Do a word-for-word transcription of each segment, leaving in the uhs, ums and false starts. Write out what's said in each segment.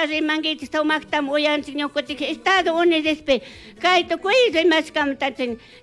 Sumaqta rimankichik, sumaqtam uyanchik ñukanchik Estados Unidospi kay tukuy rimashkamanta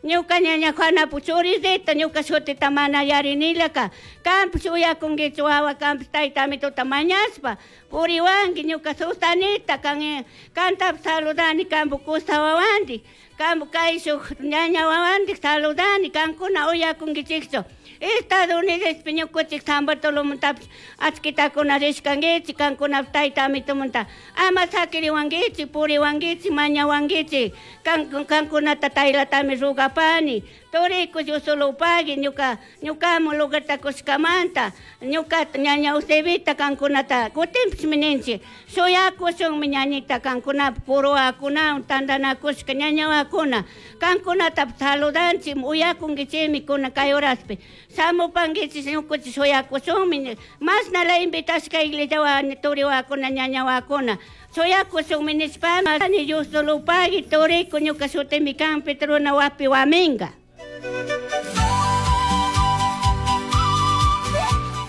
ñuka ñaña Juanapu churisita ñuka shutita mana yarinilaka kanpish uyakunkichu wawa kanpish tayta amituta mañashpa puriwanki ñuka Susanita kan kantapish saludani kampu kusa wawandik kampu kayshuk ñaña wawandik saludani kankuna uyakunkichikchu Estados Unidospi ñukanchik San Bartolomontapish achkitakuna rishkankichik kankunapish tayta amitumunta ama sakiriwankichik puriwankichik mañawankichik kan kankunata taylatami rugapani turiku Dios solo pagui ñuka ñukamu lugarta kushkamanta ñukata ñaña Eusebita kankunata kutinpishmi ninchik shuyakushunmi ñañita kankunapi puruwakunawan tantanakushka ñañawakuna kankunatapish saludanchik uyakunkichikmi kuna kay horaspi shamupankichik ñukanchik shuyakushunmi mashnala invitashka iglesiawan turiwakuna ñañawakuna shuyakushunmi nishpami Dios solo pagui turiku ñuka shutimi kan Petrona Huapi Huaminga.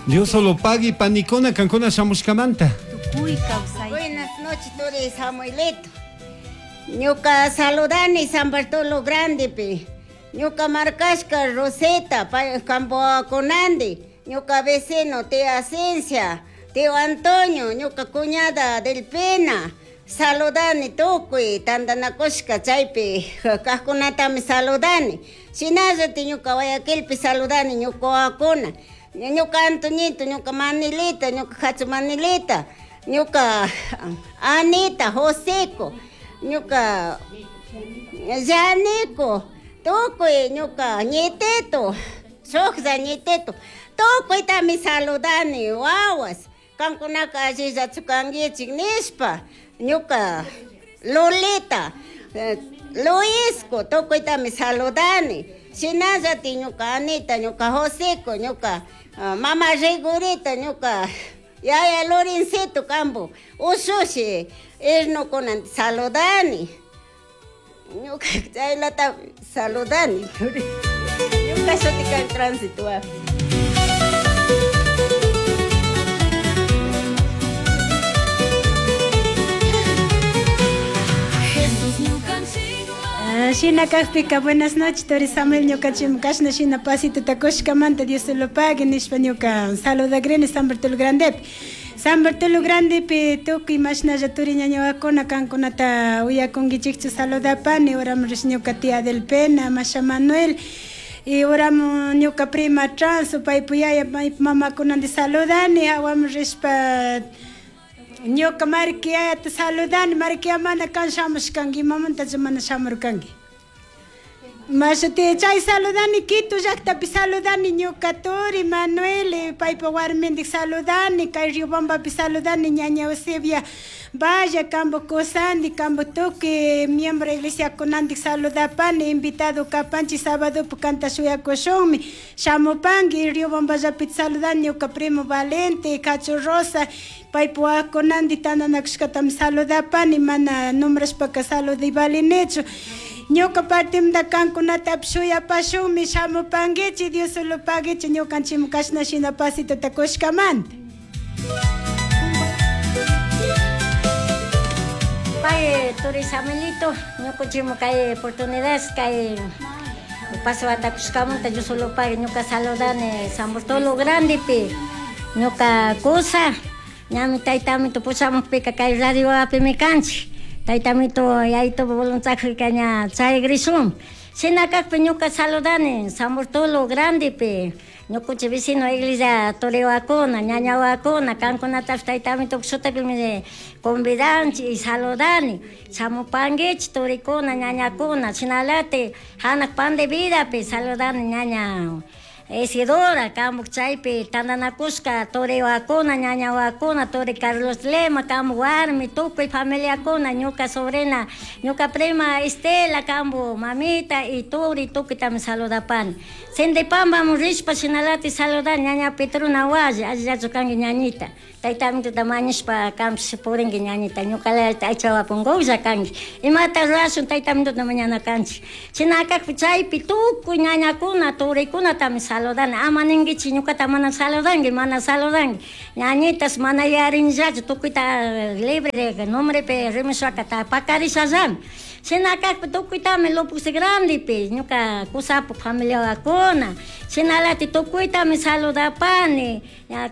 Dios solo pagui panikuna kankuna shamushkamanta. Buenas noches, Turi Samuelito. Ñuka saludani San Bartolo Grandepi. Ñuka markashka Roseta, Campoaconandi. Ñuka vecino tía Ascencia, tío Antonio, ñuka cuñada del Pena. Saludani tukuy tantanakushka chaypi kajkunatami saludani. Shinallati ñuka Guayaquilpi saludani ñuka wawakuna. Ñuka Antoñito, ñuka Manilita, ñuka Hachu Manilita, ñuka Anita, Joseco, ñuka Yanico, tukuy ñuka ñitito, shuklla ñitito, tukuytami saludani wawas, kankunaka allillachu kankichik nishpa, ñuka Lolita, Luisco, tukuytami saludani. Shinallati ñuka Anita, ñuka Joseco, ñuka uh, mama Rigurita, ñuka yaya Lorencito kampu ushushi irnukunan saludani. Ñuka chaylata saludani. Ñuka shutika en tránsito. Shina kakpika buenas noches Tori Samuel ñukanchik kashna shina pasito takushkamanta Dios lo pague nishpa ñuka saludagrini San Bartolo Grandepi San Bartolo Grandepi tukuy mashnalla turi ñañawakuna kankunata uyakunkichikchu saludapani uramu rish ñuka tía del Pena Masha Manuel y uramu ñuka prima Transo paypu yaya paypu mamakunandi saludani hawamu rishpa ñuka markiata saludani markia mana kan shamushkanki imamantacha mana shamurkanki Mashati chay saludani Quito llaqtapi saludani ñuka turi Manuel paypa warmindik saludani kay Riobambapi saludani ñaña Eusebia Vaya kambo kusandi kambo tukuy miembro iglesia kunandik saludapani invitado kapanchik sábado kanta shuyakushunmi shamupanki Riobamballapi saludani ñuka primo Valente Cacho Rosa paypa wawakunandi tantanakushkatami saludapani mana nombrashpaka saludivalinichu ñuka partimanta kankunatapish shuyapashunmi shamupankichik Dios solo paguichik ñukanchikmi kashna shina pasitota kushkamanta. Pay Turi Samuelito, ñukanchikmi kay oportunidad kay paswata kushkamanta Dios solo pague ñuka saludani San Bartolo Grandepi ñuka kusa ñami taytamito pushamukpika kay radioapimi kanchik taytamito yayito voluntariokika ña chayagrishun shina kakpi ñuka saludani San Bartolo Grandepi ñukanchik vecino iglesia turiwakuna ñañawakuna kankunatapish taytamito shutipimi convidanchik y saludani shamupankichik turikuna ñañakuna shinalati hanak pan de vidapi saludani ñaña Isidora, kamuk chaypi tantanakushka turiwakuna ñañawakuna turi Carlos Lema kampu warmi tukuy familiakuna ñuka sobrina ñuka prima Estela kampu mamita y turi tukuytami saludapani Sindipambamun rishpa shinalati saludani ñaña Petrona Hualli allillachu kanki ñañita Tayta amituta mañashpa kampish purinki ñañita ñuqalayta aychawapunkulla kanki. Imata rurashun tayta amituta mañana kanchik. China kakpi chaypi tukuy ñañakuna turikunatami saludani. Ama ninkichik ñuqata mana saludanki, mana saludanki. Ñañitas mana yarinllachu tukuyta libre nombrepi rimashwaka pakarishallami. China kakpi tukuytami Lopuz Grandepi ñuka kusapu familiawakuna. Chinalati tukuytami saludapani.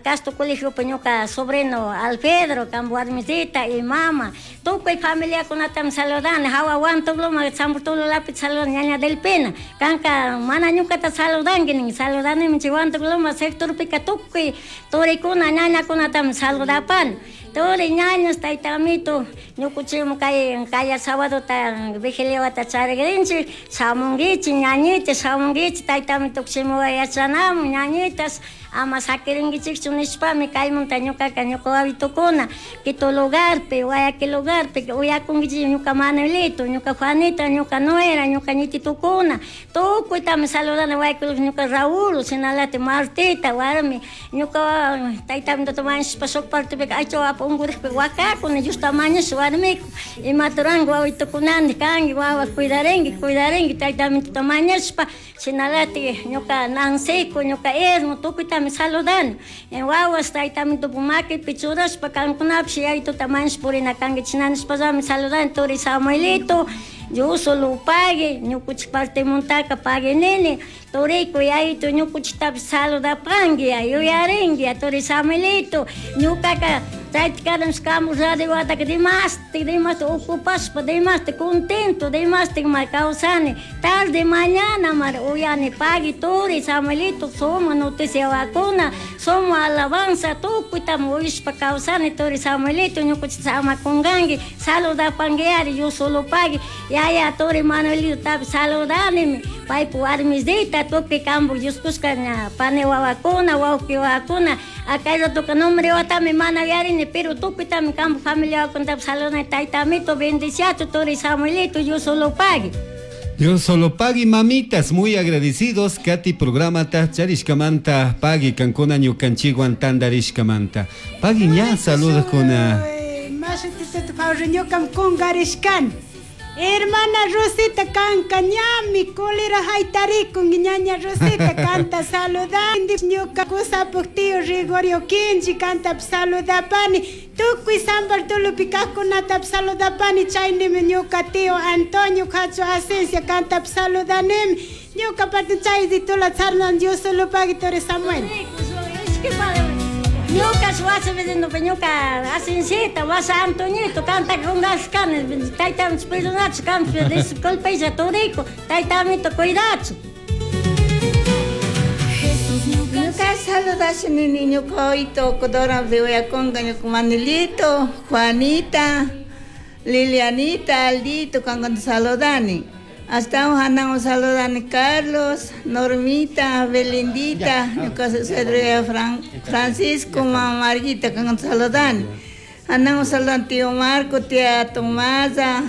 Castro colegiopi ñuka sobrino Alfredo, kampu warmisita y mama. Tukuy familiakunatami saludani. Hawa Huantuloma, San Bartolomé saludani ñaña Delpina. Kanka mana ñukata saludanki nin saludanimi chay Huantuloma sectorpika tukuy turikuna ñañakunatami saludapani. Turi ñañas tayta amito ñukuchikmi kay kaya sábadota vigiliawata charikrinchik shamunkichik ñañita shamunkichik tayta amito shimuwa yachanamun ñañitas ama sakirinkichikchu nishpami kaymunta ñukaka ñuka wawitukuna Quito lugarpi Guayaquil lugarpi uyakunkichik ñuka Manuelito ñuka Juanita ñuka Nuera ñuka ñititukuna tukuytami saludani Guayaquil ñuka Raúl shinalati Martita warmi ñuka tayta amituta mañashpa shuk partepika aycha unkurikpi wakakuni Diosta mañasha warmiku imata ruranki wawitukunanti kanki wawa cuidarinki cuidarinki tayta amituta mañashpa shinalati ñuka Nanciku ñuka Ermo tukuytami saludani wawas tayta amitupa makipi churashpa kankunapish yayituta mañashpa purina kanki china nishpallami saludani turi Samuelito Dios pagui ñukuchik partemuntaka pagui nini turiku yayitu ñukuchiktapish saludapanki yuyarinki turi Samuelito ñukaka chayta karan kamu radio wataka dimashtik dimashtik ocupashpa dimashtik contento dimashtik mar kawsani tarde mañana mar uyani pagui turi Samuelito suma noticiawakuna suma alabanza tukuytami uyashpa kawsani turi Samuelito ñukuchikta ama kunkanki saludapanki ari yo solo pagui yaya turi Manuelito tapish saludanimi paypa warmisita tukuy kampu Dios kushka ña pani wawakuna wawqi wawakuna kay ratoka nombre watami mana yuyarini pero tukuytami kampu familiawakunatapish saludani tayta amito bendiciachu turi Samuelito yo solo pagui. Dios solo pagui mamitas, muy agradecidos. Kati programata charishkamanta pagui kankuna ñukanchikwan tantarishkamanta. Pagui ña saludos kuna. Mashutituta pawru ñukam kunkarishkani. Hermana Rosita kanka ñami kulira haytarikun ñaña Rosita kanta saludani ñuka kusapuk tío Rigorio Kinchi kanta saludapani tukuy San Bartolopi kaqkunata saludapani chaynimi ñuka tío Antonio Cacho Asencia kanta saludanimi ñuka parte chayditula tsarnan Dios solo pagui turi Samuel. Ñuka wasi vendiendo ñuka Asencita wasa Antoñito kanta kunashkani tayta perdonachu kanta disculpaylla turiku tayta amito cuidachu. Ñuka saludashani ñuka wawito Codora uyakunka ñuka Manuelito, Juanita, Lilianita, Aldito kankunata saludani. Hasta hanan saludani Carlos, Normita, Belindita, ñuka suegro Fran, Francisco, mamá Marguita kankunata saludani. Hanan saludani tío Marco, tía Tomasa,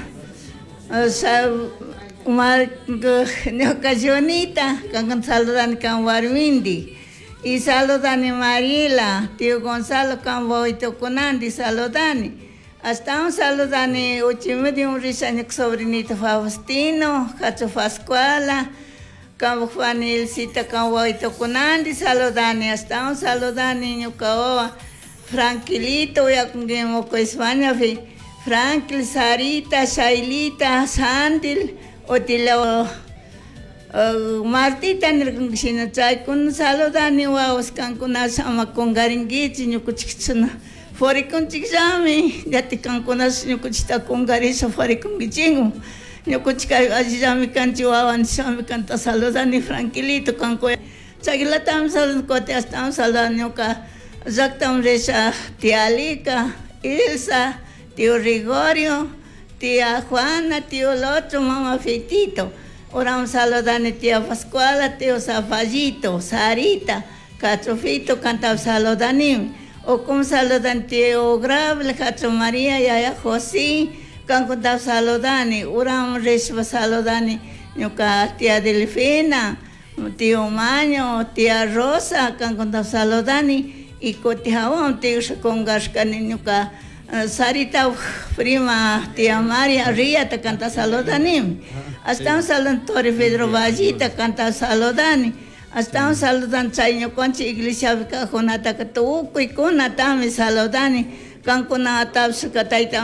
Marco, ñuka Jonita, kankunata saludani kan warmindi. Y saludani Mariela, tío Gonzalo kan wawitukunandi saludani. Hasta un saludani uchimidi un risha sobrinito Faustino, Cacho Pascuala, kan Juanilcita kan wawitukunandi saludani. Hasta un saludani ñuka wawa Franquilito uyakunki Moco España fi Franklin, Sarita, Shailita, Sandil, Otila uh, Martita nirkanki shina chaykuna saludani wawas kankuna ama kunkarinkichik ñukuchik forikunchikllami llati kankuna ñukuchikta kunkarisha forikunkichikmi ñukuchik allillami kanchik wawanchikllami kanta saludani Franquilito kanku chaylatami saludani kutin ashtawan saludani ñuka llaktaman risha tía Alika, Ilsa, tío Rigorio, tía Juana, tío Lotro, mamá Fitito. Ahora saludani tía Pascuala, tío Zafallito, Sarita, Cachofito, canta saludani. O como saludan tío Grable, Cacho María, Yaya José, kankunta saludani. Uram rishpa saludani, ñuka tía Delfina, tío Maño, tía Rosa, kankunta saludani. Y kuti hawaman tigrasha kungashkani ñuka Sarita prima tía María Riata kanta saludanimi. Ashtawan saludan turi Pedro Vallita kanta saludani. Ashtawan saludan chay ñukanchik iglesiapi kajkunataka tukuykunatami saludani. Kankunatapish tayta